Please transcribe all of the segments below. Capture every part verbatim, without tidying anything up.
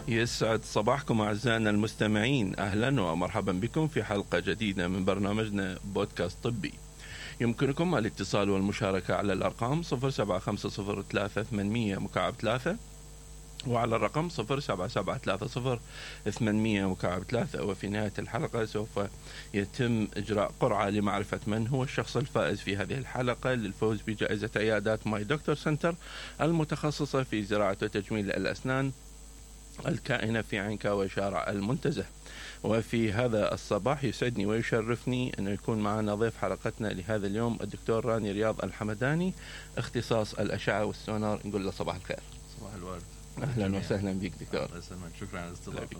يسعد صباحكم أعزائنا المستمعين، أهلا ومرحبا بكم في حلقة جديدة من برنامجنا بودكاست طبي. يمكنكم الاتصال والمشاركة على الأرقام صفر سبعة خمسة صفر ثلاثة ثمانمية مكعب ثلاثة وعلى الرقم صفر سبعة سبعة ثلاثة صفر ثمانمية مكعب ثلاثة. وفي نهاية الحلقة سوف يتم إجراء قرعة لمعرفة من هو الشخص الفائز في هذه الحلقة للفوز بجائزة عيادات ماي دكتور سنتر المتخصصة في زراعة وتجميل الأسنان الكائنة في عنكاوي شارع المنتزه. وفي هذا الصباح يسعدني ويشرفني أن يكون معنا ضيف حلقتنا لهذا اليوم الدكتور راني رياض الحمداني، اختصاص الأشعة والسونار. نقول له صباح الخير. صباح الورد. أهلا وسهلا بك دكتور. الله يسلمك، شكرا على الاستضافة.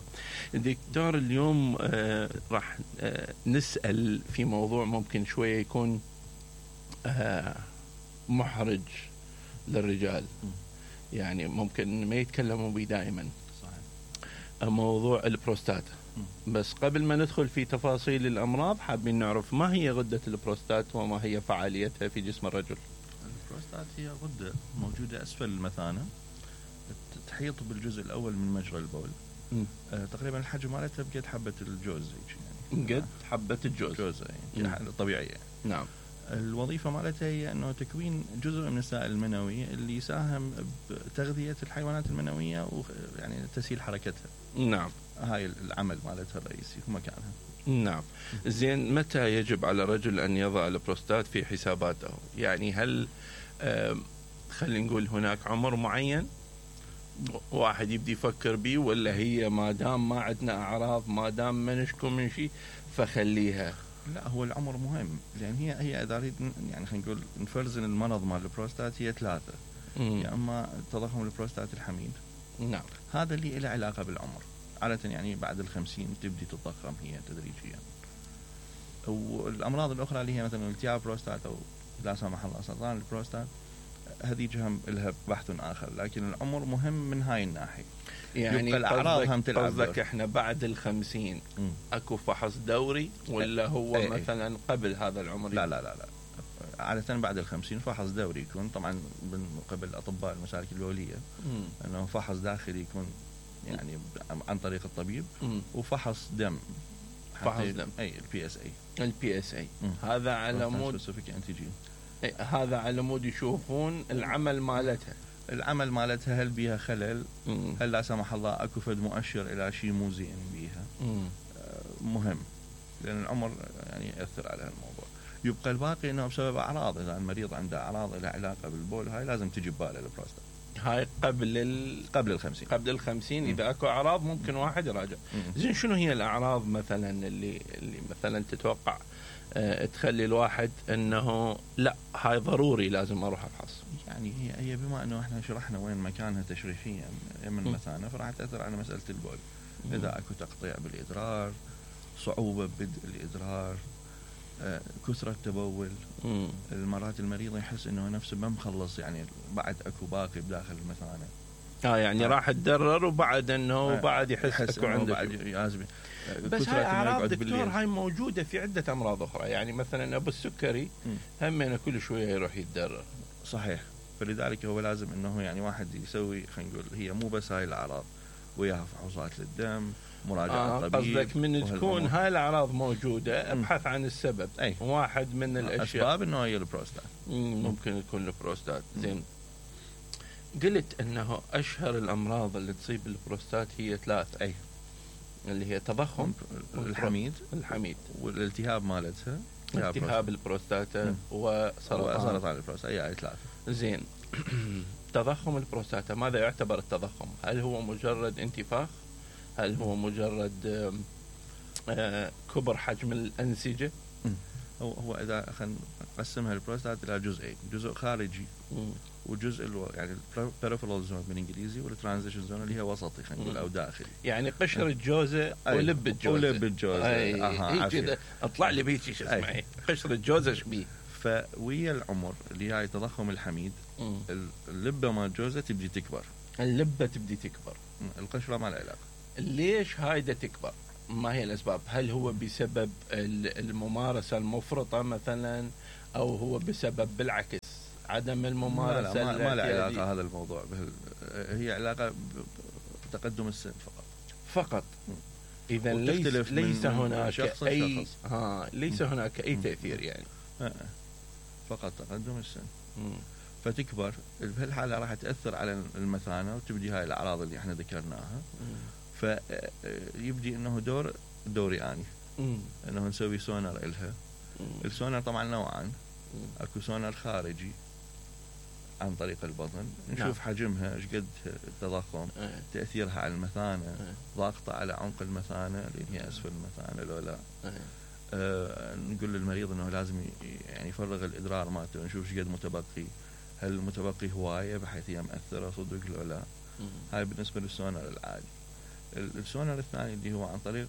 دكتور اليوم آه راح آه نسأل في موضوع ممكن شوية يكون آه محرج للرجال، يعني ممكن ما يتكلموا به دائما، موضوع البروستاتا. بس قبل ما ندخل في تفاصيل الأمراض حابين نعرف ما هي غدة البروستات وما هي فعاليتها في جسم الرجل. البروستات هي غدة موجودة أسفل المثانة، تحيط بالجزء الأول من مجرى البول. آه تقريبا الحجم مالتها بقد حبة الجوز يعني قد حبة الجوز جوزة يعني طبيعية. نعم. الوظيفة مالتها هي أنه تكوين جزء من السائل المنوي اللي يساهم بتغذية الحيوانات المنوية ويعني تسهيل حركتها. نعم. هاي العمل مالتها الرئيسي ومكانها. نعم. زين، متى يجب على الرجل أن يضع البروستات في حساباته؟ يعني هل آه خلينا نقول هناك عمر معين واحد يبدي يفكر بيه، ولا هي ما دام ما عندنا أعراض، ما دام ما نشكو من شيء فخليها؟ لا، هو العمر مهم، لأن هي هي إذا نريد يعني خلينا نقول نفرزن المرض مال البروستات هي ثلاثة. مم. يا أما تضخم البروستات الحميد. نعم. هذا اللي له علاقة بالعمر، عادة يعني بعد الخمسين تبدي تتضخم هي تدريجيا. والأمراض الأخرى اللي هي مثلا التهاب بروستات أو لا سمح الله سرطان البروستات، هذه جهم لها بحث آخر، لكن العمر مهم من هاي الناحية. يعني الأعراض هم تلعب. قصدك إحنا بعد الخمسين م. أكو فحص دوري، ولا هو ايه مثلا ايه قبل هذا العمر؟ لا لا لا لا عادة بعد الخمسين فحص دوري يكون طبعا من قبل أطباء المسالك البولية، أنه فحص داخلي يكون يعني عن طريق الطبيب، م. وفحص دم. فحص دم. أي البي اس اي. البي اس اي هذا على مود هذا على مود يشوفون العمل مالتها. العمل مالتها هل بيها خلل، مم. هل لا سمح الله اكو فد مؤشر الى شيء مو زين بيها. آه مهم، لان العمر يعني ياثر على الموضوع. يبقى الباقي انه بسبب اعراض، اذا المريض عنده اعراض لها علاقه بالبول هاي لازم تجي بباله البروستات. هاي قبل ال... قبل الخمسين. قبل الخمسين اذا اكو اعراض ممكن واحد يراجع. زين، شنو هي الاعراض مثلا اللي اللي مثلا تتوقع أه تخلي الواحد انه لا هاي ضروري لازم اروح افحص؟ يعني هي هي بما انه احنا شرحنا وين مكانها تشريحيا من المثانه، فراح تاثر على مساله البول. م. اذا اكو تقطيع بالادرار، صعوبه ببدء الادرار، آه، كثره تبول، م. المرات المريض يحس انه نفسه ما مخلص، يعني بعد اكو باقي بداخل المثانه. اه يعني آه. راح تدرر وبعد انه آه. بعد يحس, يحس اكو عنده بعد يازمي. بس هاي اعراض دكتور هاي موجوده في عده امراض اخرى، يعني مثلا ابو السكري همنا كل شويه يروح يتدرر. صحيح، فلذلك هو لازم انه يعني واحد يسوي خلينا نقول هي مو بس هاي الاعراض، وياها فحوصات للدم، مراجعه آه طبيب. قصدك من تكون هاي الاعراض موجوده ابحث عن السبب. أي. واحد من الاشياء اسباب انه هي البروستات، ممكن يكون البروستات. زين، قلت انه اشهر الامراض اللي تصيب البروستات هي ثلاث، اي اللي هي تضخم الحميد الحميد والالتهاب مالتها، التهاب البروستاتا وسرطان سرطان البروستاتا. اي اي ثلاثه. زين، تضخم البروستاتا ماذا يعتبر التضخم؟ هل هو مجرد انتفاخ؟ هل هو مجرد آه كبر حجم الانسجه؟ هو هو اذا خلينا نقسمها البروستات الى جزئين، جزء خارجي م. وجزء الو... يعني البريفرال زون بالانجليزي، والترانزيشن زون اللي هي وسطي خلينا نقول او داخلي، يعني قشر الجوزه ولب الجوزه. ولب الجوزه اها كذا اطلع لي بيك شو اسمه قشر الجوزه ايش بيه. فويا العمر اللي هاي تضخم الحميد، م. اللبه مال الجوزه تبدي تكبر. اللبه تبدي تكبر، القشره ما لها علاقه. ليش هايدا تكبر؟ ما هي الاسباب؟ هل هو بسبب الممارسه المفرطه مثلا، او هو بسبب بالعكس عدم الممارسه؟ لا لا ما, ما له علاقه هذا الموضوع بهل... هي علاقه تقدم السن فقط فقط. إذا ليس ليس هناك أي ها ليس هناك أي تأثير يعني فقط تقدم السن. مم. فتكبر بهالحالة راح تأثر على المثانة وتبدي هاي الأعراض اللي احنا ذكرناها. فيبدي انه دور دوري اني مم. انه نسوي سونار إلها. مم. السونار طبعا نوعان. مم. اكو سونار خارجي عن طريق البطن نشوف نعم. حجمها ايش قد التضخم اه. تأثيرها على المثانة اه. ضاغطة على عمق المثانة اللي هي اسفل المثانة لو لا اه. آه نقول للمريض انه لازم يعني يفرغ الادرار مالته نشوف ايش قد متبقي، هل المتبقي هواية بحيث هي مأثرة صدق لو لا. مم. هاي بالنسبة للسونار العادي. السونار الثاني اللي هو عن طريق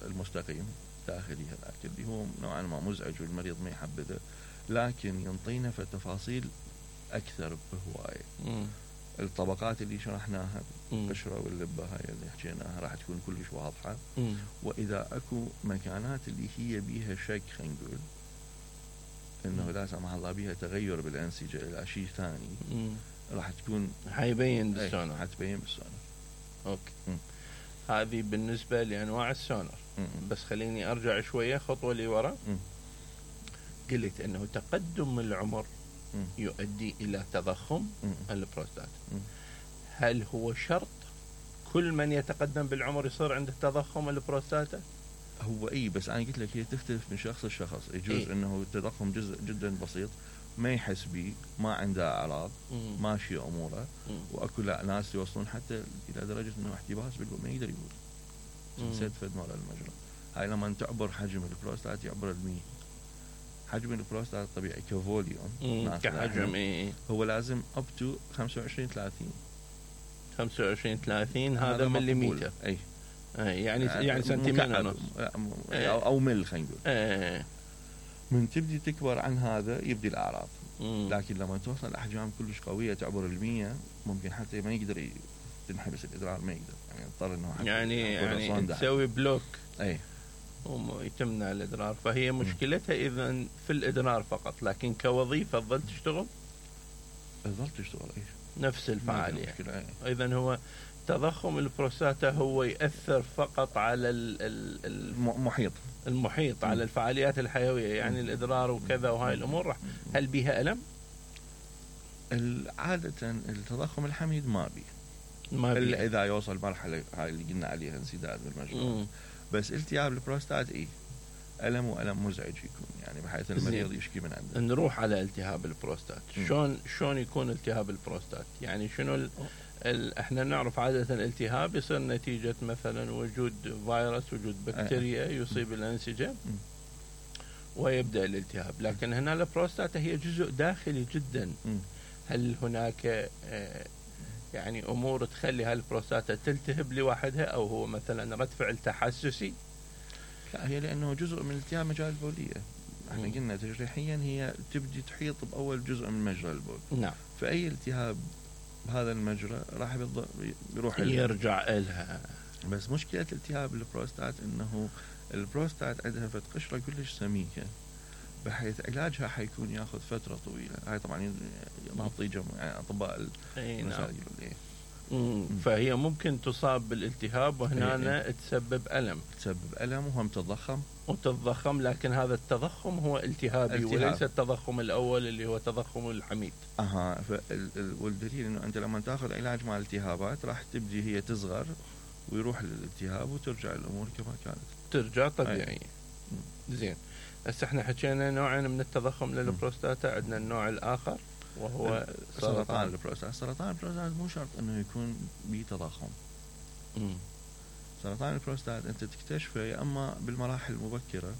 المستقيم داخلي هذاك اللي هو نوعا ما مزعج والمريض ما يحبذه، لكن ينطينا في التفاصيل أكثر بهواية. الطبقات اللي شرحناها القشرة واللبة هاي اللي حكيناها راح تكون كلش واضحة. مم. وإذا أكو مكانات اللي هي بيها شك خلينا نقول إنه لا سمح الله بيها تغير بالأنسجة إلى شيء ثاني راح تكون حيبين بالسونار. حتبين بالسونار. أوكي. مم. هذه بالنسبة لأنواع السونار. مم. بس خليني أرجع شوية خطوة لورا. قلت أنه تقدم العمر مم. يؤدي إلى تضخم مم. البروستات. مم. هل هو شرط كل من يتقدم بالعمر يصير عنده تضخم البروستاتا؟ هو إيه بس أنا قلت لك هي تختلف من شخص لشخص. يجوز إيه؟ أنه التضخم جزء جدا بسيط ما يحس به، ما عنده أعراض، ماشي أموره. مم. وأكو ناس يوصلون حتى إلى درجة أنه احتباس بالبول ما يقدر يقول سد فد مرة المجرى. هاي لما تعبر حجم البروستات يعبر المية. حجم البروستات الطبيعي كفوليوم كحجم إيه هو لازم up to خمسة وعشرين ثلاثين خمسة وعشرين ثلاثين هذا مليمتر. أي يعني يعني سنتيمتر ونص أو, أو مل خلينا نقول. أي. من تبدي تكبر عن هذا يبدي الأعراض. مم. لكن لما توصل الأحجام كلش قوية تعبر المية ممكن حتى ما يقدر تنحبس الإدرار ما يقدر يعني يضطر إنه يعني يعني تسوي بلوك. أي ويتمنع الإدرار. فهي مشكلتها إذن في الإدرار فقط، لكن كوظيفة تظل تشتغل تظل تشتغل إيش نفس الفعالية. إذن هو تضخم البروستاتا هو يأثر فقط على المحيط المحيط على الفعاليات الحيوية يعني م. الإدرار وكذا وهاي الأمور. هل بيها ألم؟ عادة التضخم الحميد ما بيه ما إلا بيه. إذا يوصل مرحلة هاي اللي قلنا عليها انسداد بالمجرى. بس التهاب البروستات إيه ألم وألم مزعج يكون يعني بحيث المريض يشكي من عنده. نروح على التهاب البروستات. شلون شلون يكون التهاب البروستات؟ يعني شنو ال ال احنا نعرف عادة الالتهاب يصير نتيجة مثلا وجود فيروس وجود بكتيريا يصيب الأنسجة ويبدأ الالتهاب. لكن هنا البروستات هي جزء داخلي جدا. هل هناك يعني أمور تخلي هالبروستاتا تلتهب لوحدها أو هو مثلا رد فعل تحسسي؟ لا هي لأنه جزء من التهاب مجرى البولية. احنا قلنا تجريحيا هي تبدي تحيط بأول جزء من مجرى البول. نعم. فأي التهاب بهذا المجرى راح يروح يرجع إلها. بس مشكلة التهاب البروستات إنه البروستات عندها فت قشرة كلش سميكة بحيث علاجها حيكون ياخذ فترة طويلة. هاي طبعا نعطي يعني أطباء المسائل. فهي ممكن تصاب بالالتهاب وهنا تسبب ألم تسبب ألم وهم تضخم وتضخم. لكن هذا التضخم هو التهابي التهاب. وليس التضخم الأول اللي هو تضخم الحميد. أها. والدليل إنه أنت لما تأخذ علاج مع الالتهابات راح تبدي هي تصغر ويروح للالتهاب وترجع الأمور كما كانت ترجع طبيعية. زين. هسه احنا حكينا نوعين من التضخم للبروستاتا. عندنا النوع الآخر وهو سرطان البروستات. سرطان البروستات مو شرط انه يكون به تضخم. سرطان البروستات انت تكتشفه يا اما بالمراحل المبكرة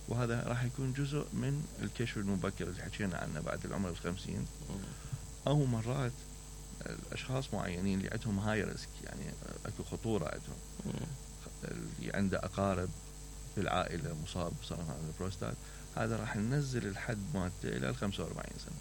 وهذا راح يكون جزء من الكشف المبكر اللي حكينا عنه بعد العمر الخمسين. او مرات الاشخاص معينين اللي عندهم هاي ريسك يعني اكو خطورة عندهم اللي عنده اقارب في العائلة مصاب بسرطان البروستات هذا راح ننزل الحد مالته الى خمسة وأربعين سنة.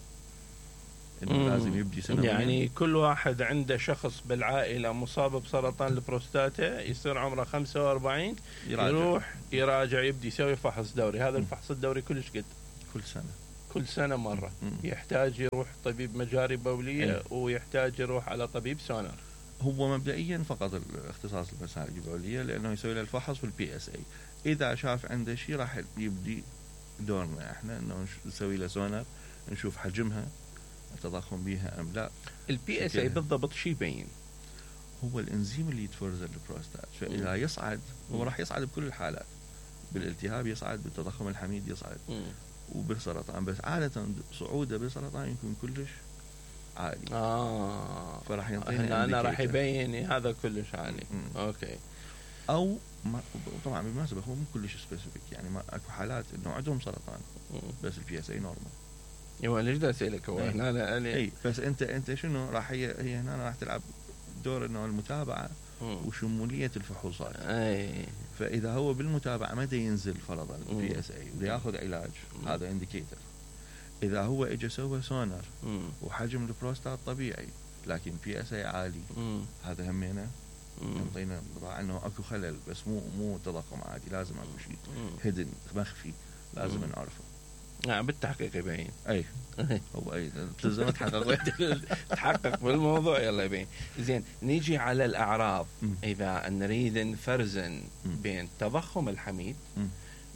إنه لازم يبدي سنويا. يعني كل واحد عنده شخص بالعائلة مصاب بسرطان البروستاتا يصير عمره خمسة وأربعين يراجع. يروح يراجع يبدي يسوي فحص دوري. هذا الفحص الدوري كلش قد كل سنة كل سنة مرة. مم. يحتاج يروح طبيب مجاري بولية. مم. ويحتاج يروح على طبيب سونار. هو مبدئيا فقط الاختصاص المسالك البوليه لانه يسوي له الفحص والبي اس اي. اذا شاف عنده شيء راح يبدي دورنا احنا انه نسوي له سونار نشوف حجمها التضخم بيها ام لا. البي اس اي بالضبط شو يبين؟ هو الانزيم اللي يتفرز البروستات، فاذا يصعد هو راح يصعد بكل الحالات، بالالتهاب يصعد، بالتضخم الحميد يصعد، وبالسرطان، بس عاده صعوده بالسرطان يكون كلش عالي. اه فراح يعطينا انا راح يبين هذا كلش عالي. مم. اوكي. او ما طبعا بالمناسبه هو مو كلش سبيسيفيك، يعني ما اكو حالات انه عندهم سرطان مم. بس البي اس اي نورمال. ايوه ليش بدي اسالك هو هنا انا انا اي بس انت انت شنو راح هي هي هنا راح تلعب دور انه المتابعه مم. وشموليه الفحوصات. اي فاذا هو بالمتابعه متى ينزل فرضا البي اس اي وياخذ علاج مم. هذا انديكيتر. اذا هو اجى سوى سونار مم. وحجم البروستات طبيعي لكن بي اس اي عالي مم. هذا همينه يعطينا انطباع انه اكو خلل، بس مو مو تضخم عادي، لازم اكو شيء هيدن مخفي لازم مم. نعرفه. نعم بالتحقيق يبين. اي هو اي لازم تحقق تحقق بالموضوع يلا يبين. زين نيجي على الاعراض. م. اذا نريد نفرزن بين تضخم الحميد م.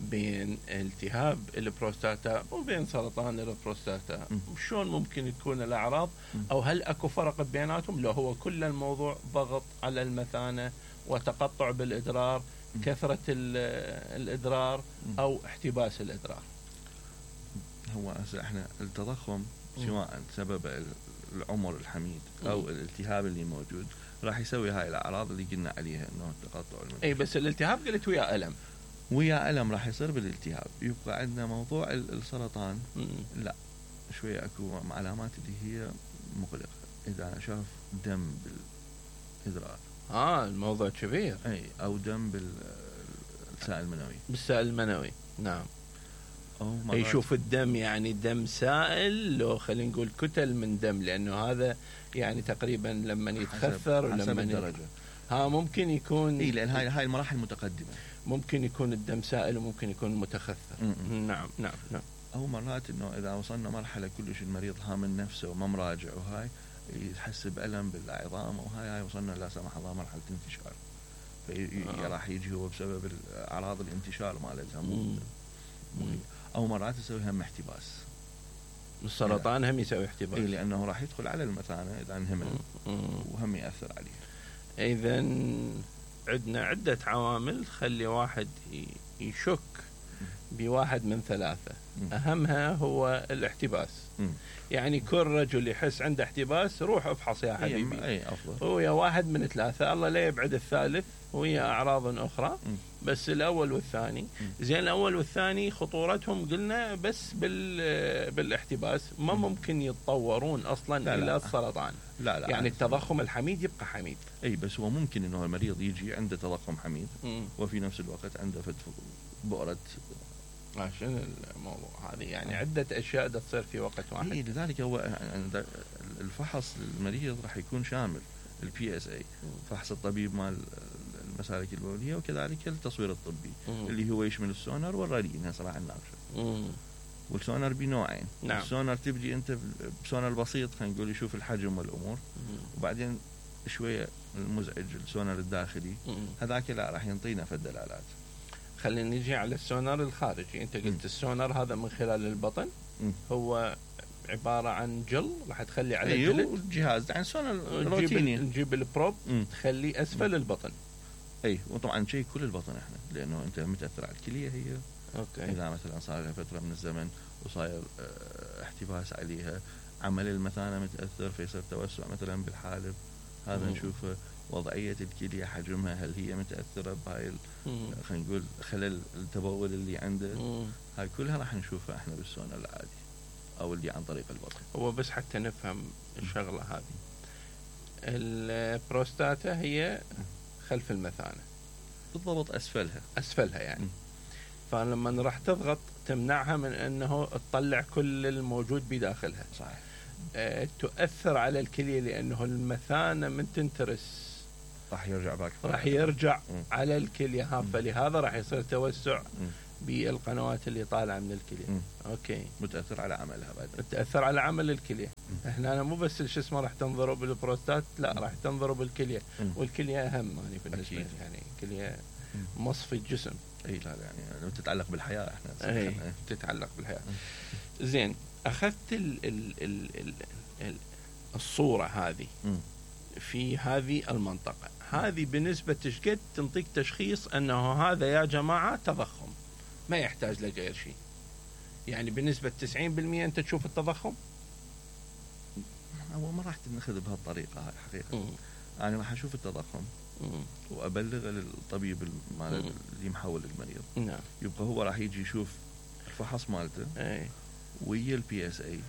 بين التهاب البروستاتا وبين سرطان البروستاتا، شلون ممكن تكون الاعراض؟ او هل اكو فرق بيناتهم لو هو كل الموضوع ضغط على المثانه وتقطع بالادرار، كثره الادرار او احتباس الادرار؟ هو احنا التضخم سواء سبب العمر الحميد او الالتهاب اللي موجود راح يسوي هاي الاعراض اللي قلنا عليها انه تقطع المنفذ. اي بس الالتهاب قلت ويا الم ويا الم راح يصير بالالتهاب. يبقى عندنا موضوع السرطان مم. لا شويه اكو علامات اللي هي مقلقه. اذا شاف دم بالادرار اه الموضوع كبير. اي او دم بالسائل المنوي بالسائل المنوي نعم. يشوف الدم يعني دم سائل لو خلينا نقول كتل من دم، لانه هذا يعني تقريبا لما يتخثر ولما الدرجه ها ممكن يكون اي لان هاي هاي المراحل المتقدمه ممكن يكون الدم سائل وممكن يكون متخثر. م-م. نعم نعم نعم. او مرات انه اذا وصلنا مرحله كلش المريض هامن نفسه وما مراجع وهاي يحس بألم بالعظام وهاي هاي وصلنا لا سمح الله مرحله انتشار، في آه. راح يجي هو بسبب اعراض الانتشار مالتها مو او مرات يسوي هم احتباس. السرطان هم يسوي احتباس اي لانه راح يدخل على المثانه اذا انهمل وهم ياثر عليه. اذا عندنا عده عوامل تخلي واحد يشك بواحد من ثلاثه. اهمها هو الاحتباس. يعني كل رجل يحس عنده احتباس روح افحص يا حبيبي. اي افضل. هو واحد من ثلاثه، الله لا يبعد الثالث وهي اعراض اخرى. م. بس الاول والثاني م. زين الاول والثاني خطورتهم قلنا بس بال بالاحتباس ما م. ممكن يتطورون اصلا لا الى لا. السرطان. لا لا يعني التضخم الحميد يبقى حميد. اي بس هو ممكن انه المريض يجي عنده تضخم حميد م. وفي نفس الوقت عنده بؤره. شنو الموضوع هذه يعني عدة أشياء تصير في وقت واحد. إيه لذلك هو الفحص المريض راح يكون شامل البي اس اي، فحص الطبيب مال المسالك البولية، وكذلك التصوير الطبي مم. اللي هو يشمل السونار والرادين هسه راح نناقشه. والسونار بنوعين. نعم. السونار تبدي أنت بسونار بسيط خلينا نقول يشوف الحجم والأمور مم. وبعدين شوية المزعج السونار الداخلي هذاك لا راح ينطينا في الدلالات. خلينا نجي على السونار الخارجي. انت قلت م. السونار هذا من خلال البطن م. هو عبارة عن جل راح تخلي على أيوه الجلد الجهاز يعني سونار روتيني نجيب البروب م. تخليه أسفل م. البطن. اي وطبعا شيء كل البطن احنا لانه انت متاثر على الكليه هي اوكي. اذا مثلا صار لها فتره من الزمن وصاير اه احتباس عليها، عمل المثانه متاثر فيصير توسع مثلا بالحالب، هذا م. نشوفه وضعية الكلية حجمها هل هي متأثرة بهاي خلينا نقول خلل التبول اللي عنده مم. هاي كلها راح نشوفها احنا بالسونار العادي او اللي عن طريق البطن. هو بس حتى نفهم الشغلة هذه، البروستاتا هي خلف المثانة بالضبط اسفلها اسفلها يعني. مم. فلما راح تضغط تمنعها من انه تطلع كل الموجود بداخلها. صحيح. أه تؤثر على الكلية لانه المثانة من تنترس راح يرجع باك راح يرجع مم. على الكلية ها، فلهذا راح يصير توسع بالقنوات اللي طالعه من الكليه. م. اوكي. متاثر على عملها بعد. تاثر على عمل الكليه. م. احنا أنا مو بس شو اسمه راح تنظروا بالبروستات، لا راح تنظروا بالكليه. م. والكليه اهم يعني بالنسبه لي، يعني الكليه مصفي الجسم. اي لا يعني تتعلق بالحياه احنا. اي تتعلق بالحياه. م. زين، اخذت ال ال ال ال ال الصوره هذه م. في هذه المنطقه هذه، بنسبه شقد تنطيك تشخيص انه هذا يا جماعه تضخم، ما يحتاج لغير شيء؟ يعني بنسبه تسعين بالمئة انت تشوف التضخم؟ اول ما راح ناخذ بهالطريقه هاي حقيقه. م. انا راح اشوف التضخم م. وابلغ للطبيب اللي محول المريض. نعم. يبقى هو راح يجي يشوف الفحص مالته اي ويا البي اس اي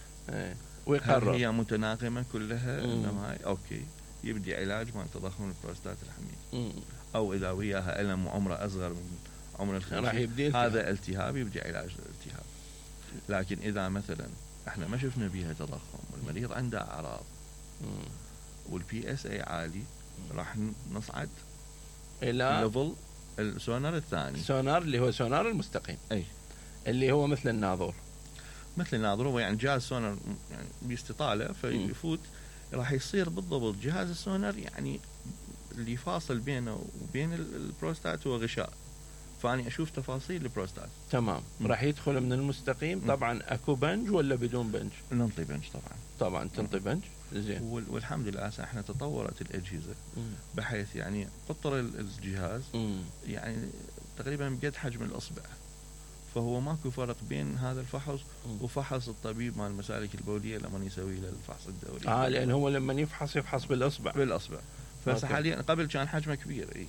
ويقرر هي متناغمه كلها انه هاي اوكي، يبدي علاج مال تضخم البروستات الحميد. م. او اذا وياها الم وعمره اصغر من عمر الخمسين هذا التهاب، يبدي علاج الالتهاب. لكن اذا مثلا احنا ما شفنا بيها تضخم والمريض عنده اعراض والبي اس اي عالي، راح نصعد الى ليفل السونار الثاني. السونار اللي هو سونار المستقيم، اي اللي هو مثل الناظور. مثل الناظور هو يعني جهاز سونار يعني باستطاله فيفوت، راح يصير بالضبط جهاز السونار يعني اللي فاصل بينه وبين البروستات هو غشاء، فاني اشوف تفاصيل البروستات. تمام. م. راح يدخل من المستقيم. طبعا اكو بنج ولا بدون بنج؟ ننطي بنج طبعا. طبعا تنطي بنج. زين. والحمد لله هسه احنا تطورت الاجهزه م. بحيث يعني قطر الجهاز م. يعني تقريبا بقد حجم الاصبع، فهو ماكو فرق بين هذا الفحص م. وفحص الطبيب مال المسالك البوليه لما يسوي له الفحص الدوري. اه لان هو لما يفحص يفحص بالاصبع. بالاصبع. فحاليا قبل كان حجمه كبير. اي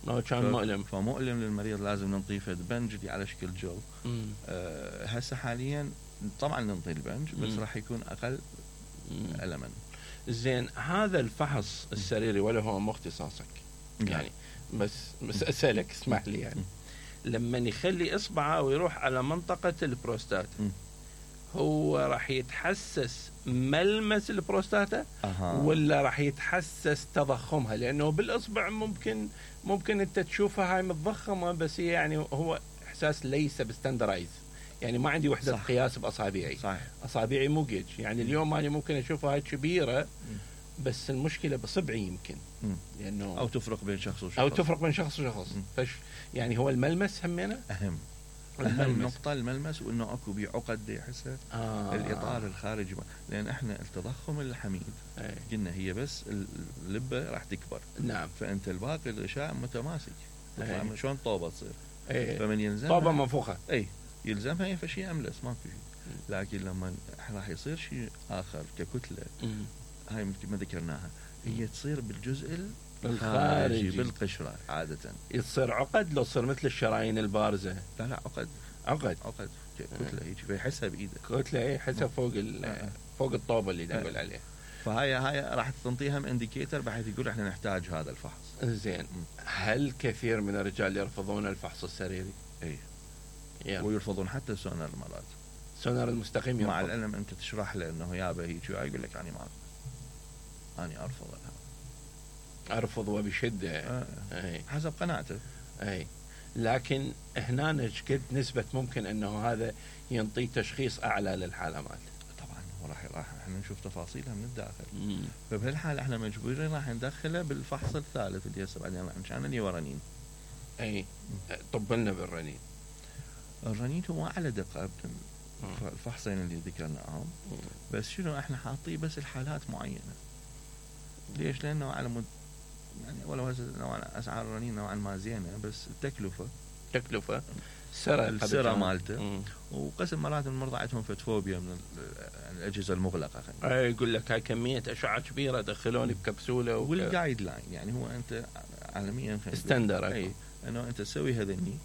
أو كان ف... مؤلم. فمؤلم للمريض، لازم ننطيه فد بنج اللي على شكل جل. آه هسه حاليا طبعا ننطي البنج بس راح يكون اقل ألما. زين، هذا الفحص السريري ولا هو مو اختصاصك؟ يعني بس بس اسالك اسمح لي، يعني لما يخلي اصبعه ويروح على منطقه البروستات هو راح يتحسس ملمس البروستاتا أه. ولا راح يتحسس تضخمها؟ لانه بالاصبع ممكن ممكن انت تشوفها هاي متضخمه، بس هي يعني هو احساس ليس بستاندرايز، يعني ما عندي وحده صح. قياس باصابعي. صحيح. اصابعي مو جيج، يعني اليوم انا ممكن اشوفها هاي كبيره بس المشكله بصبعي يمكن، لانه او تفرق بين شخص وشخص او تفرق بين شخص وشخص. فش يعني هو الملمس همينه اهم أهم نقطة الملمس، وإنه أكو بعقد يحسها آه. الإطار الخارجي، لأن إحنا التضخم الحميد أي. قلنا هي بس اللبة راح تكبر. نعم. فأنت الباقي الغشاء متماسك، تطلع شلون طوبة تصير. أي. فمن يلزمها طوبة منفوخة. أي يلزمها هي فشي أملس ماكو شيء، لكن لما راح يصير شيء آخر ككتلة م. هاي ما ذكرناها، هي تصير بالجزء الخارجي بالقشرة عادة. يصير عقد لو تصير مثل الشرايين البارزة؟ لا لا عقد عقد عقد كتلة هيك فيحسها بإيده. كتلة هي يحسها فوق فوق الطوبة اللي نقول عليها. فهاي هاي راح تنطيها من انديكيتر بحيث يقول احنا نحتاج هذا الفحص. زين. هل كثير من الرجال يرفضون الفحص السريري؟ اي يعني. ويرفضون حتى السونار مرات. سونار المستقيم يرفض. مع العلم انت تشرح له انه يابا هيك يقول لك انا ما انا ارفض هذا. ارفض وبشده. آه. اي حسب قناعته. اي لكن هنا قد نسبة ممكن انه هذا ينطي تشخيص اعلى للحالة مالته؟ طبعا هو راح راح احنا نشوف تفاصيلها من الداخل. مم. فبهالحالة احنا مجبورين راح ندخله بالفحص الثالث اللي هسه بعدين راح نشان اللي هو رنين. اي طب لنا بالرنين. الرنين هو اعلى دقة الفحصين اللي ذكرناهم، بس شنو احنا حاطيه بس الحالات معينة. ليش؟ لانه على مد يعني ولو نوعا اسعار الرنين نوعا ما زينه، بس التكلفه تكلفه سرى السرى مالته، وقسم مرات المرضى عندهم فتفوبيا من الاجهزه المغلقه. اي يقول لك هاي كميه اشعه كبيره دخلوني بكبسوله وك... والجايد لاين يعني هو انت عالميا ستاندر اي انه انت تسوي هذني،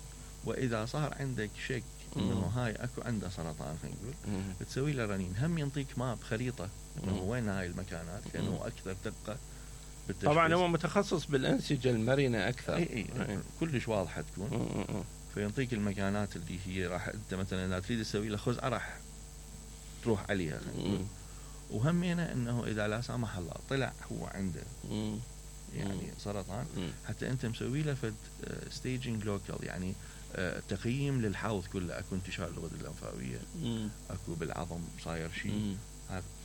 واذا صار عندك شك انه هاي اكو عنده سرطان خلينا نقول تسوي له رنين، هم ينطيك ماب خريطه انه وين هاي المكانات كانه اكثر دقه. طبعا هو متخصص بالأنسجة المرنة أكثر. أي أي أي. كلش واضحة تكون. م- م- فينطيك المكانات اللي هي راح أنت مثلا إذا تريد تسوي له خزعة راح تروح عليها. وهمينا إنه إذا لا سمح الله طلع هو عنده يعني سرطان، حتى انت مسوي له فد ستيجنج لوكال، يعني تقييم للحوض كله. اكو انتشار الغدد اللمفاويه، اكو بالعظم صاير شيء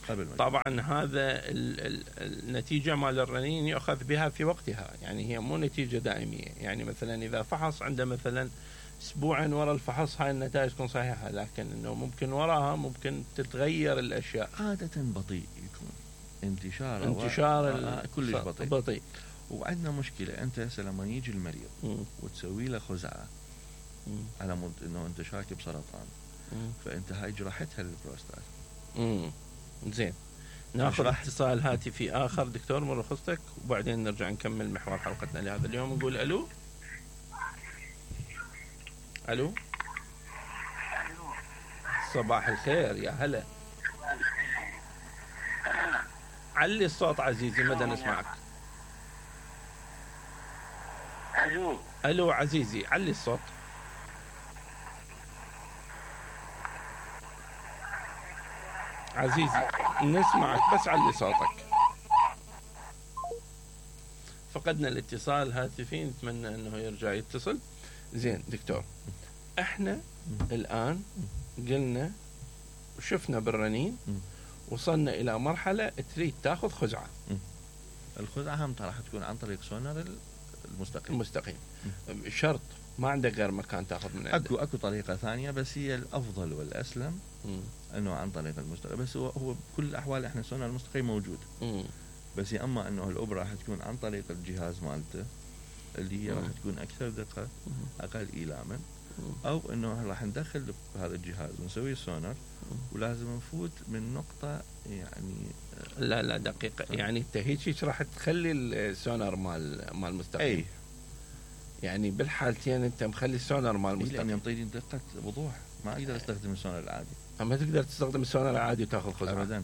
قبل. طبعا هذا ال ال النتيجه مال الرنين يؤخذ بها في وقتها، يعني هي مو نتيجه دائميه. يعني مثلا اذا فحص عنده مثلا اسبوعين ورا الفحص هاي النتائج تكون صحيحه، لكن انه ممكن وراها ممكن تتغير الاشياء. عاده بطيء يكون انتشاره، انتشار آه كلش بطيء. بطيء. وعندنا مشكله، انت هسه لما يجي المريض م. وتسوي له خزعه م. على مود انه انت شاكي بسرطان، م. فانت هاي جرحتها للبروستات. امم زين، ناخذ اتصال هاتفي اخر دكتور من رخصتك، وبعدين نرجع نكمل محور حلقتنا لهذا اليوم. نقول الو. الو صباح الخير، يا هلا. علي الصوت عزيزي، مدى نسمعك. الو الو عزيزي، علي الصوت. عزيزي نسمعك بس علي صوتك. فقدنا الاتصال الهاتفي، نتمنى انه يرجع يتصل. زين دكتور، احنا الان قلنا وشفنا بالرنين وصلنا الى مرحله تريد تاخذ خزعه. الخزعه هم راح تكون عن طريق سونار المستقيم. المستقيم شرط، ما عندك غير مكان تاخذ من عنده. اكو اكو طريقه ثانيه، بس هي الافضل والاسلم م. انه عن طريق المستقيم. بس هو هو بكل الاحوال احنا سونار المستقيم موجود، م. بس يا اما انه الابره راح تكون عن طريق الجهاز مالته اللي هي راح تكون اكثر دقه، اقل ايلاما، او انه راح ندخل بهذا الجهاز ونسوي سونار، ولازم نفوت من نقطه يعني. لا لا دقيقه، يعني انت هيك راح تخلي السونار مال مال المستقيم. اي يعني بالحالتين انت مخلي السونار مال المستقيم، لان يعطيني دقه وضوح، ما اقدر استخدم السونار العادي. ما تقدر تستخدم السونار العادي وتاخذ خزعه ابدا.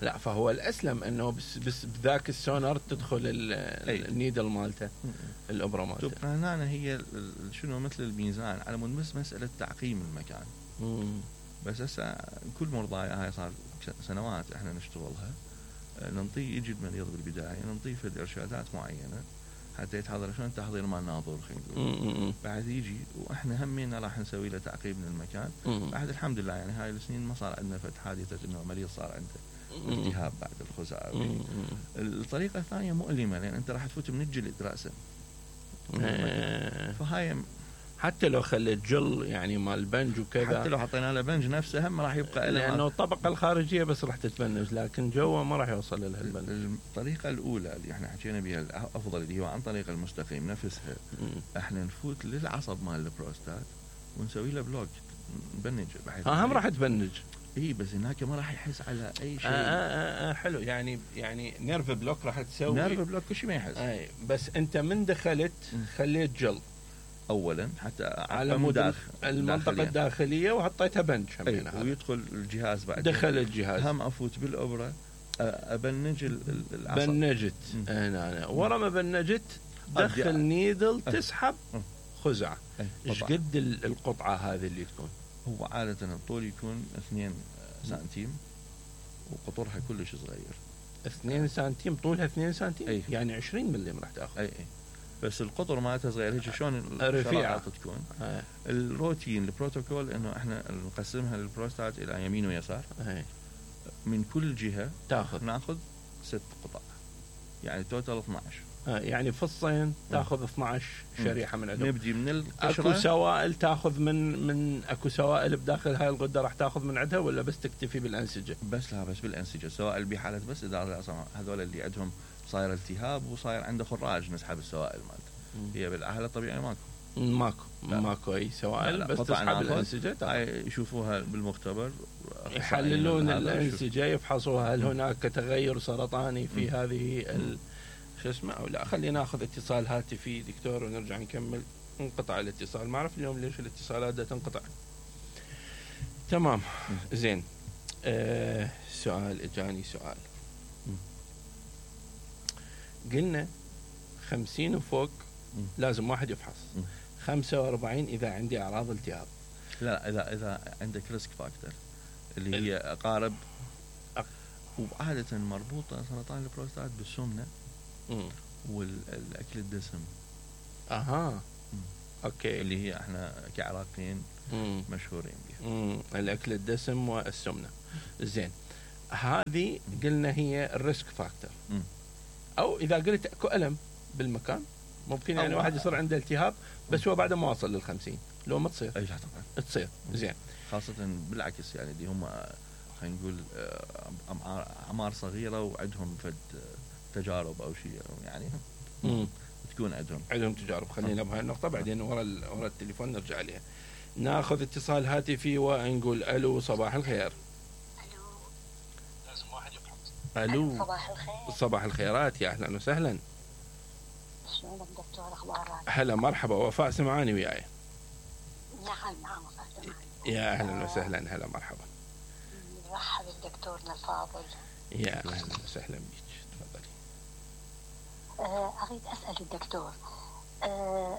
لا، فهو الاسلم انه بس بس بذاك السونار تدخل النيدل مالته، الابره مالته. شوف هنا هي شنو مثل الميزان على مود بس مساله تعقيم المكان. مم. بس هسه كل مرضايا هاي صار سنوات احنا نشتغلها، ننطيه يجي المريض بالبدايه ننطيه في ارشادات معينه حتى يتحضر شلون تحضير مال ناظور خلينا نقول. بعد يجي واحنا همينا راح نسوي له تعقيم للمكان. مم. بعد الحمد لله يعني هاي السنين ما صار عندنا فد حادثه انه مريض صار عنده التهاب بعد الخزعه. الطريقه الثانيه مؤلمه، لان انت راح تفوت من الجلد راسا. فهاي حتى لو خليت جل يعني مال بنج وكذا، حتى لو حطينا له بنج نفسه هم راح يبقى، لانه الطبقه الخارجيه بس راح تتبنج، لكن جوا ما راح يوصل لها البنج. الطريقه الاولى اللي احنا حكينا بها الافضل اللي هو عن طريق المستقيم نفسها. مم. احنا نفوت للعصب مال البروستات ونسوي له بلوك، نبنج بحيث هم راح تبنج. اي بس هناك ما راح يحس على اي شيء. آه آه آه حلو، يعني يعني نيرف بلوك راح تسوي. نيرف بلوك كل شيء ما يحس. اي بس انت من دخلت خليت جل اولا حتى على مود المنطقه الداخليه وحطيتها بنج همين، ويدخل الجهاز بعد. دخل الجهاز هم افوت بالابره ابنج العصب. بنجت هنا أنا. ورا ما بنجت دخل نيدل تسحب خزعه. ايش قد القطعه هذه اللي تكون؟ هو عاده الطول يكون اثنين سنتيم وقطرها كلش صغير. اثنين سنتيم طولها اثنين سنتيم. أي. يعني عشرين ملم راح تاخذ. اي اي بس القطر مالتها صغير هيك شلون الرفيعه تكون. أي. الروتين البروتوكول انه احنا نقسمها للبروستات الى يمين ويسار. أي. من كل جهه تاخذ ناخذ ست قطع، يعني توتال اثنعش. آه يعني فصين تاخذ اثنعش شريحه من عندهم. نبدي من القشره. اكو سوائل تاخذ من من اكو سوائل بداخل هاي الغده راح تاخذ من عندها، ولا بس تكتفي بالانسجه؟ بس لا بس بالانسجه، سوائل بحاله بس اذا هذول اللي عندهم صاير التهاب وصاير عنده خراج نسحب السوائل مالته. هي بالحاله الطبيعيه ماكو ماكو لا. ماكو اي سوائل، لا لا. بس تسحب الانسجه. يشوفوها بالمختبر، يحللون الانسجه، يفحصوها هل هناك تغير سرطاني في م. هذه ال شو اسمه او لا. خلينا ناخذ اتصال هاتفي دكتور ونرجع نكمل. انقطع الاتصال، ما اعرف اليوم ليش الاتصالات دا تنقطع. تمام زين. آه سؤال اجاني سؤال. قلنا خمسين وفوق لازم واحد يفحص. خمسة وأربعين اذا عندي اعراض التهاب. لا اذا اذا عندك ريسك فاكتور اللي هي اقارب، وعادة مربوطة سرطان البروستات بالسمنة مم. والاكل الدسم. اها. اوكي. اللي هي احنا كعراقيين مم. مشهورين بها. مم. الاكل الدسم والسمنه. زين، هذه قلنا هي الريسك فاكتور. او اذا قلت اكو الم بالمكان ممكن يعني واحد يصير عنده التهاب بس هو بعد ما وصل للخمسين، لو ما تصير. اي طبعا تصير. زين، خاصة بالعكس يعني دي هم خلينا نقول اعمار صغيرة وعندهم فد تجارب او شيء يعني. مم. تكون عندهم عندهم تجارب. خلينا بهاي النقطة بعدين ورا ورا التليفون نرجع عليها. ناخذ اتصال هاتفي ونقول الو صباح الخير. الو لازم واحد يفهم. الو صباح الخير. صباح الخيرات، يا اهلا وسهلا. شلونك دكتور، اخبارك؟ هلا مرحبا، وفاء سمعاني وياي. نعم نعم وفاء. يا اهلا وسهلا، هلا مرحبا. نرحب بدكتورنا الفاضل. يا اهلا وسهلا بك، تفضلي. آه، اريد اسال الدكتور، آه،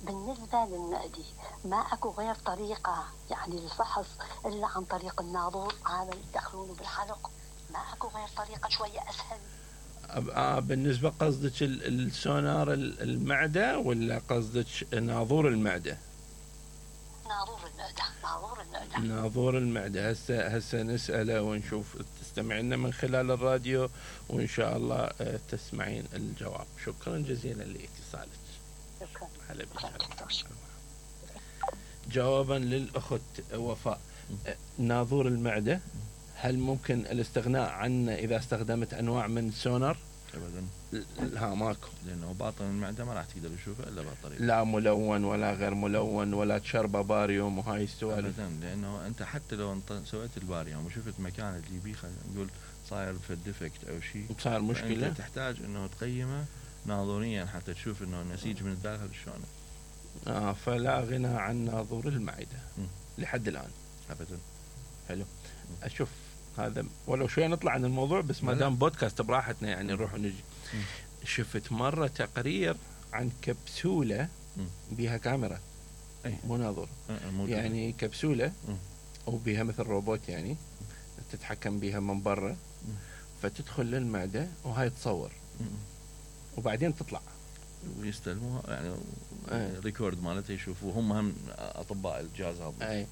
بالنسبه للمعدي ما اكو غير طريقه يعني للفحص الا عن طريق الناظور هذا اللي يدخلونه بالحلق؟ ما اكو غير طريقه شويه اسهل؟ آه بالنسبة قصدك السونار المعدة ولا قصدك ناظور المعدة؟ ناظور المعده. ناظور المعده. ناظور المعدة. هسه هسه نسأله ونشوف، تستمعين من خلال الراديو وإن شاء الله تسمعين الجواب. شكرا جزيلا لاتصالك. شكرا. هلا بك. جوابا للأخت وفاء، ناظور المعدة هل ممكن الاستغناء عنه إذا استخدمت أنواع من السونار؟ ابدا. ها ماكو، لانه باطن المعده ما راح تقدر تشوفه الا بهالطريقه. لا ملون ولا غير ملون ولا تشربه باريوم وهاي السوالف. ابدا، لانه انت حتى لو انت سويت الباريوم وشفت مكان اللي بيه خلينا نقول صاير في ديفكت او شيء، صار مشكله، انت تحتاج انه تقيمه ناظوريا حتى تشوف انه النسيج من الداخل شلون. اه فلا غنى عن ناظور المعده م. لحد الان. ابدا. حلو. اشوف هذا ولو شوي نطلع عن الموضوع بس ما دام بودكاست براحتنا يعني نروح ونجي. م. شفت مره تقرير عن كبسوله م. بيها كاميرا، أي. مو ناظور، أه يعني كبسوله م. وبيها مثل روبوت يعني تتحكم بيها من برا، فتدخل للمعده وهاي تصور م. وبعدين تطلع ويستلموها يعني أي. ريكورد مالته يشوفوا هم هم اطباء الجهاز هذا. اي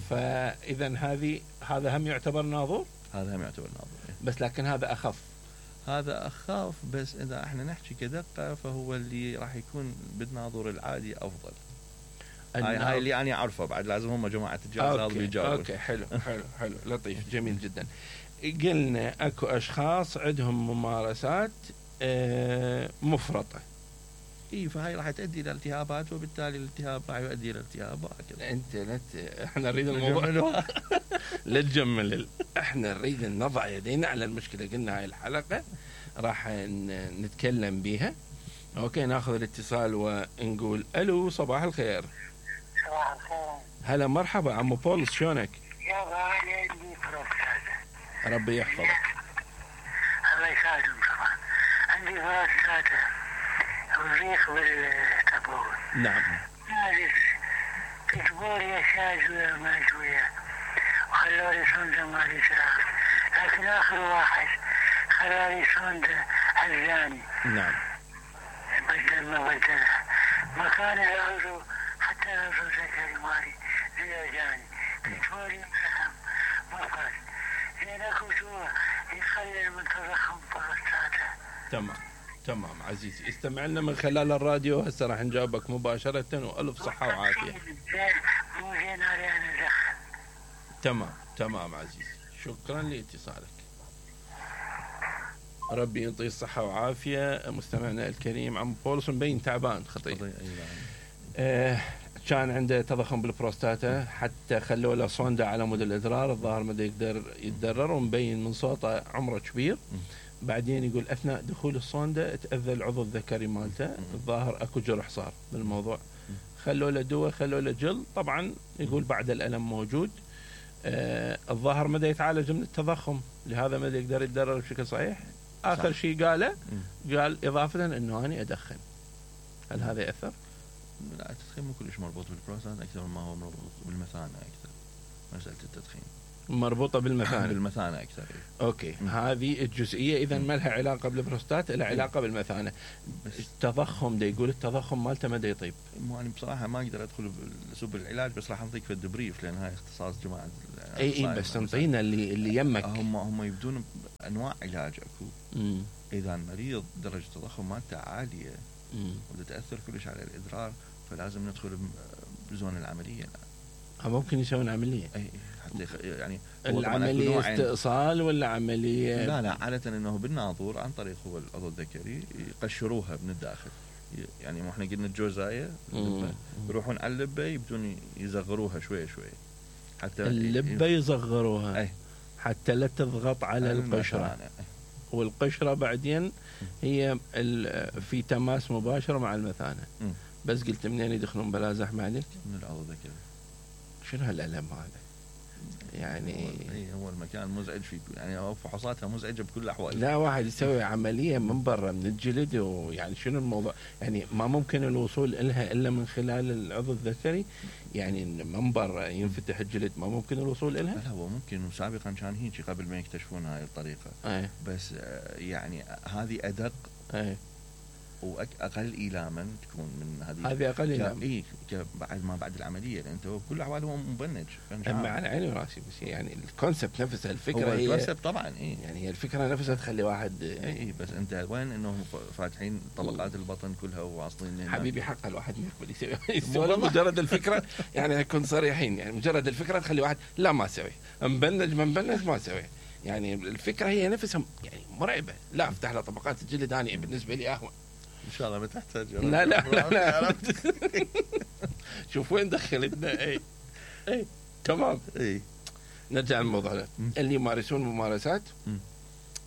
فاذا هذه هذا هم يعتبر ناظور، هذا هم يعتبر ناظور بس لكن هذا اخف. هذا اخاف، بس اذا احنا نحكي كدقه فهو اللي راح يكون بالناظور العادي افضل. هاي هاي اللي انا اعرفه، بعد لازم هم جماعه الجهاز هذا بيجاوبوا. اوكي حلو حلو حلو لطيف جميل جدا. قلنا اكو اشخاص عندهم ممارسات آه مفرطه. اي فهاي راح تؤدي الى التهابات، وبالتالي الالتهاب راح يؤدي الى التهاب وهكذا. انت لا احنا نريد الموضوع لا تجمل، احنا نريد نضع يدينا على المشكله. قلنا هاي الحلقه راح نتكلم بيها. اوكي ناخذ الاتصال ونقول الو صباح الخير. صباح الخير. هلا مرحبا عمو بولس، شلونك؟ يا غالي عندي بروستاتا. ربي يحفظك. الله يساعدهم طبعا. عندي بروستاتا وضيق بالتبول. نعم. نازل كتبوا لي شاي شوية ما شوية وخلوا لي صندة مالي سراغ، لكن آخر واحد خلوا لي صندة عزاني. نعم. بدل ما بدلها مكان العضو، حتى العضو ذكري مالي زياداني كتبوا لي مرهم مفرد زين اكو جوا يخلي من تضخم بروستاتا. تمام تمام عزيزي، استمع لنا من خلال الراديو. هسه راح نجاوبك مباشرة وألف صحة وعافية. مو زين علي أنا أدخن. تمام تمام عزيزي، شكرا لاتصالك. ربي يعطيه الصحة وعافية. مستمعنا الكريم عم بولس مبين تعبان خطير. آه كان عنده تضخم بالبروستاتا، حتى خلوا له صوندا على مود الإدرار، الظاهر ما يقدر يتدرر، ومبين من صوته عمره كبير. بعدين يقول اثناء دخول الصوندا تاذى العضو الذكري مالته، الظاهر اكو جرح صار بالموضوع، خلوا له دواء خلوا له جل، طبعا يقول بعد الالم موجود. آه الظاهر مدى يتعالج من التضخم، لهذا مدى يقدر يتدرر بشكل صحيح. اخر شيء قاله قال اضافه انه انا ادخن. هل هذا ياثر؟ لا التدخين مو كلش مربوط بالبروستات، اكثر ما هو مربوط بالمثانه اكثر مساله التدخين. مربوطة بالمثانة. بالمثانة أكثر. أوكي م. هذه الجزئية إذا ما لها علاقة بالبروستات، لها علاقة بالمثانة. التضخم ده يقول التضخم مالته ما دا يطيب. مو أنا بصراحة ما أقدر أدخل بسوب العلاج، بس راح أعطيك في الدبريف لأن هاي اختصاص جماعة. أي إي بس تنطينا اللي اللي يمك. هم هم يبدون أنواع علاج أكو. م. إذا المريض درجة التضخم مالته عالية وتتأثر كلش على الإدرار، فلازم ندخل بزون العملية. ممكن يسوون عملية. أي حتى يعني العملية استئصال ولا عملية؟ لا لا عادة إنه بالناظور عن طريق هو العضو الذكري يقشروها من الداخل. يعني ما احنا قلنا الجوزاية يروحون على اللبة يبدون يصغروها شوية شوية حتى اللبة يصغروها أي. حتى لا تضغط على القشرة، والقشرة بعدين هي في تماس مباشر مع المثانة. م. بس قلت منين يدخلون بلا زحمة عليك؟ من العضو الذكري. شنو هالألم هذا؟ يعني هو, هو المكان مزعج فيه، يعني فحوصاتها مزعجة بكل الأحوال. لا واحد يسوي عملية من برا من الجلد، ويعني شنو الموضوع؟ يعني ما ممكن الوصول إلها إلا من خلال العضو الذكري، يعني من برا ينفتح الجلد ما ممكن الوصول إلها؟ لا هو ممكن، وسابقا كان هيك قبل ما يكتشفون هاي الطريقة. أي. بس يعني هذه أدق. أي. واقل ايلاما تكون من هذه. هذه اقل ايلاما. اي بعد ما بعد العمليه، لان انت بكل الاحوال هو مبنج. اما على عيني وراسي، بس يعني الكونسبت نفسها الفكره هي الكونسبت طبعا. اي يعني هي الفكره نفسها تخلي واحد. اي بس انت وين انه فاتحين طبقات البطن كلها وواصلين. حبيبي حق الواحد يقبل يسوي مجرد الفكره، يعني نكون صريحين، يعني مجرد الفكره تخلي واحد لا ما اسوي، مبنج ما مبنج ما اسوي. يعني الفكره هي نفسها يعني مرعبه. لا افتح له طبقات الجلد اني بالنسبه لي اهون. ان شاء الله ما تحتاج. لا لا لا, لا. شوف وين دخلتنا. اي اي تمام. اي نرجع للموضوع اللي يمارسون ممارسات.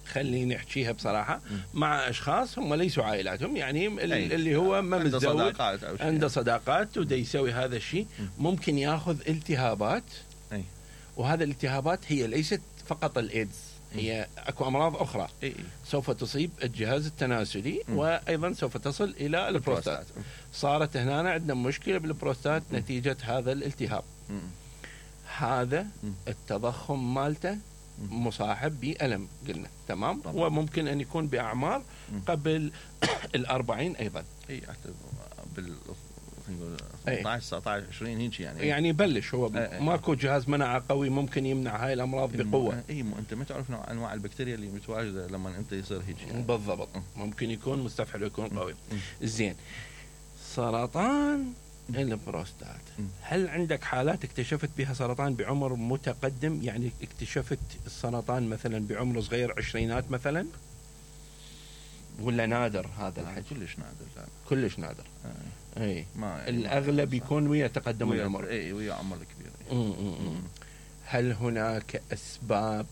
خليني نحكيها بصراحه م. مع اشخاص هم ليسوا عائلاتهم، يعني اللي, اللي هو ما عنده متزوج صداقات أو عنده صداقات ودا يسوي هذا الشيء، ممكن ياخذ التهابات. أي. وهذا الالتهابات هي ليست فقط الايدز، هي اكو امراض اخرى إيه. سوف تصيب الجهاز التناسلي م. وايضا سوف تصل الى البروستات. صارت هنا عندنا مشكله بالبروستات م. نتيجه هذا الالتهاب. م. هذا م. التضخم مالته مصاحب بألم قلنا تمام طبعا. وممكن ان يكون باعمار م. قبل الأربعين ايضا. اي حتى بال ثمانية عشر تسعة عشر عشرين هيك يعني. يعني يبلش هو أي. ماكو جهاز مناعه قوي ممكن يمنع هاي الامراض بقوه. اي مو انت ما تعرف نوع انواع البكتيريا اللي متواجده لما انت يصير هيك يعني. بالضبط. ممكن يكون مستفحل ويكون قوي. زين سرطان البروستات، هل عندك حالات اكتشفت بها سرطان بعمر متقدم؟ يعني اكتشفت السرطان مثلا بعمر صغير عشرينات مثلا، ولا نادر هذا الحكي؟ كلش نادر. لا كلش نادر. آه. اي ما يعني الاغلب يكون ويا تقدم العمر. اي ويا عمر كبير. هل هناك اسباب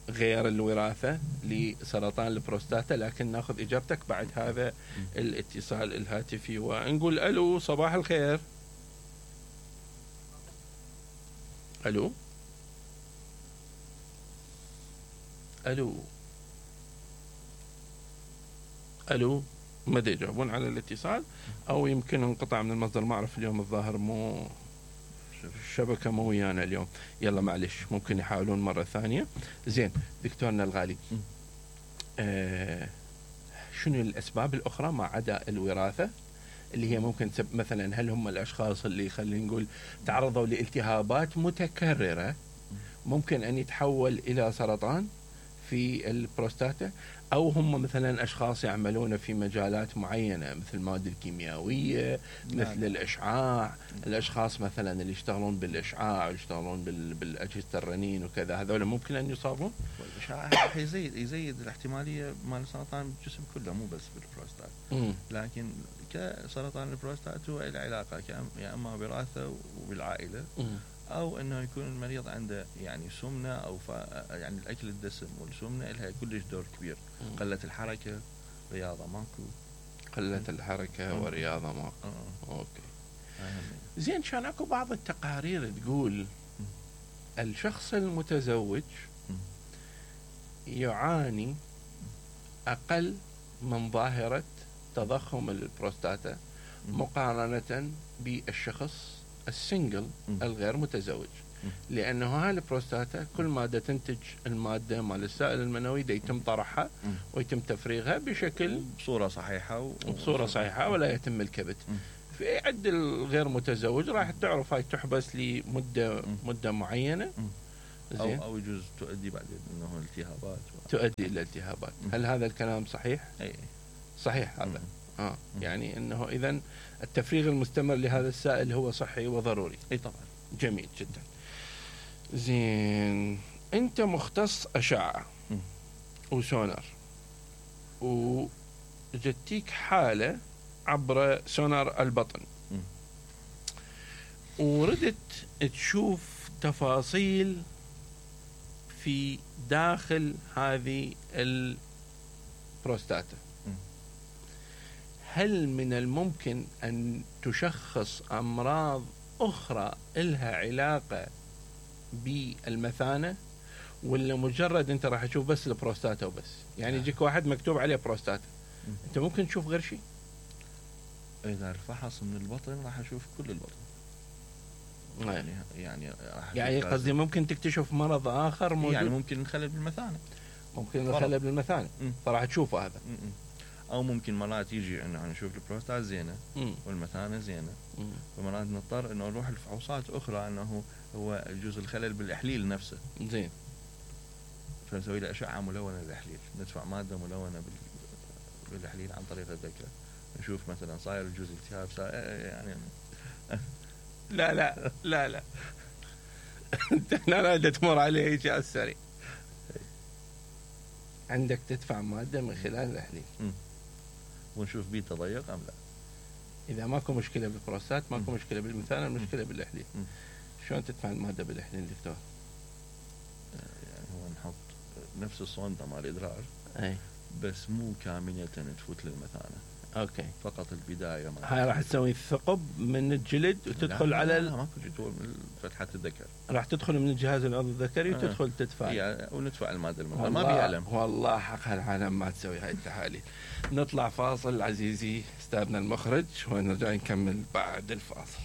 غير الوراثه لسرطان البروستاتا؟ لكن ناخذ اجابتك بعد هذا الاتصال الهاتفي ونقول الو صباح الخير. الو الو الو ما يجاوبون على الاتصال، او يمكن انقطع من المصدر، ما اعرف اليوم الظاهر مو الشبكه مو ويانا اليوم. يلا معلش ممكن يحاولون مره ثانيه. زين دكتورنا الغالي، آه شنو الاسباب الاخرى ما عدا الوراثه اللي هي ممكن تسبب؟ مثلا هل هم الاشخاص اللي خلينا نقول تعرضوا لالتهابات متكرره ممكن ان يتحول الى سرطان في البروستاتا، أو هم مثلا أشخاص يعملون في مجالات معينة مثل المواد الكيميائية مثل نعم. الإشعاع، الأشخاص مثلا اللي يشتغلون بالإشعاع يشتغلون بالأجهزة الرنين وكذا، هذول ممكن أن يصابون؟ الإشعاع يزيد يزيد الاحتمالية مال السرطان بالجسم كله مو بس بالبروستات. م. لكن كسرطان البروستات هو له علاقة يا إما وراثة وبالعائلة م. أو إنه يكون المريض عنده يعني سمنة أو يعني الأكل الدسم والسمنة لها كلش دور كبير. م. قلة الحركة، رياضة ماكو. قلة الحركة م. ورياضة ماكو. م. أوكي. زين كان أكو بعض التقارير تقول م. الشخص المتزوج م. يعاني أقل من ظاهرة تضخم البروستاتا م. مقارنة بالشخص السنجل الغير متزوج. لانه هاي البروستاتا كل ماده تنتج الماده مال السائل المنوي دا يتم طرحها ويتم تفريغها بشكل بصوره صحيحه و... بصوره صحيحه ولا يتم الكبت. في عند الغير متزوج راح تعرف هاي تحبس لمده مده معينه، زين، او او يجوز تؤدي بعدين انه التهابات و... تؤدي الى التهابات. هل هذا الكلام صحيح؟ اي صحيح هذا. اه يعني انه اذا التفريغ المستمر لهذا السائل هو صحي وضروري. اي طبعا. جميل جدا. زين، انت مختص اشعه وسونار، وجتيك حاله عبر سونار البطن، وردت تشوف تفاصيل في داخل هذه البروستاتا، هل من الممكن أن تشخص أمراض أخرى إلها علاقة بالمثانة، ولا مجرد أنت راح تشوف بس البروستاتا وبس؟ يعني يجيك واحد مكتوب عليه بروستاتا، أنت ممكن تشوف غير شيء؟ إذا فحص من البطن راح أشوف كل البطن. يعني يعني يعني قصدي ممكن تكتشف مرض آخر موجود، يعني ممكن خلل بالمثانة، ممكن خلل بالمثانة فراح تشوفه هذا. م -م. او ممكن مرات يجي انه نشوف البروستات زينه مم. والمثانه زينه، فمرات نضطر انه نروح لفحوصات اخرى انه هو يجوز الخلل بالاحليل نفسه. زين، فنسوي له اشعه ملونه للاحليل، ندفع ماده ملونه بالاحليل عن طريق الذكر، نشوف مثلا صاير يجوز التهاب يعني. لا لا لا لا انت لا لا تمر عليه هيك على السريع، عندك تدفع ماده من خلال الاحليل م. ونشوف بيه تضيق ام لا. اذا ماكو مشكله بالبروستات، ماكو مشكله بالمثانه، المشكله بالاحليل. شلون تدفع الماده بالاحليل دكتور؟ يعني هو نحط نفس الصونده مال الادرار، اي بس مو كامله تفوت للمثانه. اوكي، فقط البدايه. هاي راح تسوي ثقب من الجلد وتدخل لا على لا, لا ماكو جدول من فتحه الذكر، راح تدخل من الجهاز العضوي الذكري آه. وتدخل تدفع يعني وندفع الماده المنويه. ما بيعلم والله حق هالعالم ما تسوي هاي التحاليل. نطلع فاصل عزيزي استاذنا المخرج ونرجع نكمل بعد الفاصل.